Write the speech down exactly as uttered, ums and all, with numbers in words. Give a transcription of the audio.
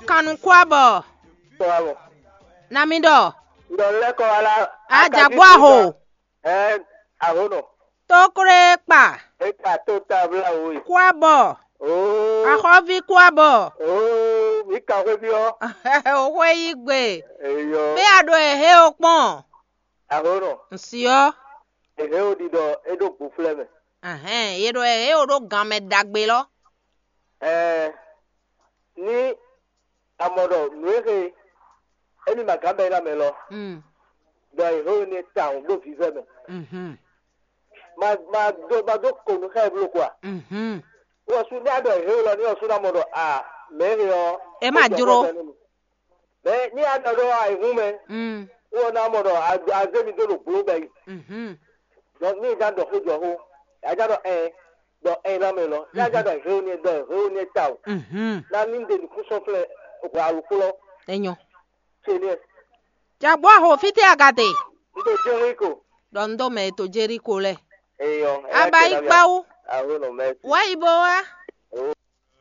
Kanukúabɔ. Kɔ wá mɔ. Na mi ɖɔ. Ɖɔ lɛ́ kɔ wá lá. Ajagbó aho. Ɛ, aho nɔ. Tókré kpa. E ka tó ta bla wo yi. Kúabɔ. Oo. Axɔ́ví kúabɔ. Oo, mi ka xwé bi ɔ. Òxwé yí gbe. Eyɔ. Bí a ɖo èhé o kpɔn. Aho nɔ. Nsí ɔ. Èhé o ɖiɖɔ e ɖo gboflɛ mɛ. Ahɛn, ye ɖo èhé o ɖo gan mɛ ɖagbe lɔ. Ɛɛ, ní a mɔ ɖɔ nǔ e xe émí ma gǎn bɛ́ ná mɛ lɔ, ɖɔ è hɛn we ní tawun ɖó vǐvɛ́ mɛ. Ma ma dó ma dó ko nú xá ɛ bló ko a? Wɔ sú ní a ɖɔ è hɛn we lɔ ní ɔ sú ná mɔ ɖɔ a mɛ e xe ɔ. Ɛ má jló. Mɛ ní a ɖɔ ɖɔ a è hún mɛ. Wɔ ná mɔ ɖɔ a zé mi dó ɖo gblo bɛ yi. Dɔnku ní ìdá ɖɔ xó jɔ xó, ìdá ɖɔ ɛ ɖɔ ɛ ná mɛ lɔ, ní ìdá ɖɔ hɛn ní ɖɔ hɛn ní ta o. Ná ní ɖe nukún sɔn flɛ hwɛ alukplɔ. Enyɔ. Tse ní ɛ. Jagbó aho fítɛ́ agate. N ɖo Jeriko. Ɖɔ n ɖo mɛ to Jeriko lɛ. Eyɔ. Aba yi kpawu. Aho nɔ mɛ. Wá yi bó wá.